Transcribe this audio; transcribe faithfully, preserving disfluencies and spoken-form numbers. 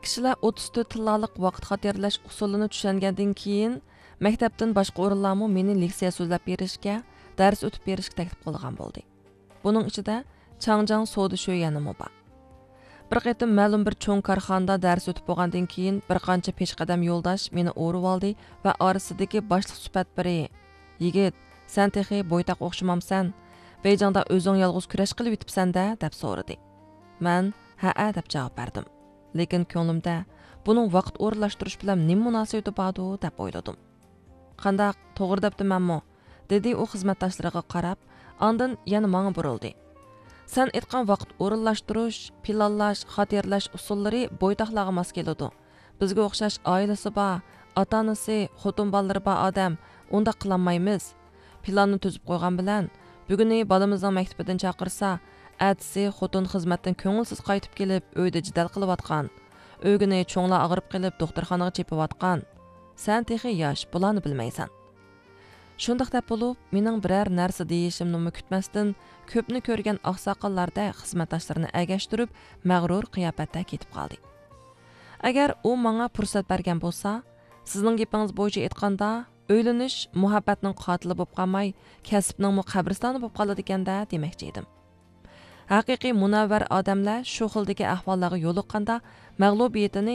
كىشىلەر ئوتتۇز تۆت تىللالىق ۋاقىت خاتىرىلەش ئۇسۇلىنى چۈشەنگەندىن كېيىن، مەكتەپتىن باشقا ئورۇنلارمۇ مېنى لېكسىيە سۆزلەپ بېرىشكە، دەرس ئۆتۈپ بېرىشكە تەكلىپ قىلىدىغان بولدى. بۇنىڭ ئىچىدە چاڭجياڭ سودا شۆيۈەنىمۇ بار. بىر قېتىم مەلۇم بىر چوڭ كارخانىدا دەرس ئۆتۈپ بولغاندىن كېيىن، بىر قانچە پېشقەدەم يولداش مېنى ئورىۋالدى ۋە ئارىسىدىكى باشلىق سۈپەت بىرى، يىگىت، سەن تېخى بويتاق ئوخشىمامسەن؟ بېيجىڭدا ئۆزۈڭ يالغۇز كۈرەش قىلىۋېتىپسەن-دە، دەپ سورىدى. مەن ھەئە دەپ جاۋاب بەردىم. لېكىن كۆڭلۈمدە، بۇنىڭ ۋاقىت ئورۇنلاشتۇرۇش بىلەن نېمە مۇناسىۋىتى باردۇ، دەپ ئويلىدىم. قانداق، توغرا دەپتىمەنمۇ؟ دېدى ئۇ خىزمەتداشلىرىغا قاراپ، ئاندىن يەنە ماڭا بۇرۇلدى. سەن ئېيتقان ۋاقىت ئورۇنلاشتۇرۇش، پىلانلاش، خاتىرىلەش ئۇسۇللىرى بويتاقلارغا ماس كېلىدۇ. بىزگە ئوخشاش ئائىلىسى بار، ئاتا-ئانىسى، خوتۇن بالىلىرى بار ئادەم ئۇنداق قىلالمايمىز. پىلاننى تۈزۈپ قويغان بىلەن، بۈگۈنى بالىمىزنىڭ مەكتىپىدىن چاقىرسا، ئەتىسى خوتۇن خىزمەتتىن كۆڭۈلسىز قايتىپ كېلىپ، ئۆيدە جېدەل قىلىۋاتقان. ئۆگۈنى چوڭلار ئاغرىپ قېلىپ دوختۇرخانىغا چېپىۋاتقان. سەن تېخى ياش، بۇلارنى بىلمەيسەن. شۇنداق دەپ بولۇپ، مېنىڭ بىرەر نەرسە دېيىشىمنىمۇ كۈتمەستىن، كۆپنى كۆرگەن ئاقساقاللاردەك خىزمەتداشلىرىنى ئەگەشتۈرۈپ، مەغرۇر قىياپەتتە كېتىپ قالدى. ئەگەر ئۇ ماڭا پۇرسەت بەرگەن بولسا، سىزنىڭ گېپىڭىز بويىچە ئېيتقاندا، ئۆيلىنىش مۇھەببەتنىڭ قاتىلى بولۇپ قالماي، كەسىپنىڭمۇ قەبرىستانى بولۇپ قالىدىكەن-دە، دېمەكچى ئىدىم. ھەقىقىي مۇنەۋۋەر ئادەملەر شۇ خىلدىكى ئەھۋاللارغا يولۇققاندا، مەغلۇبىيىتىنى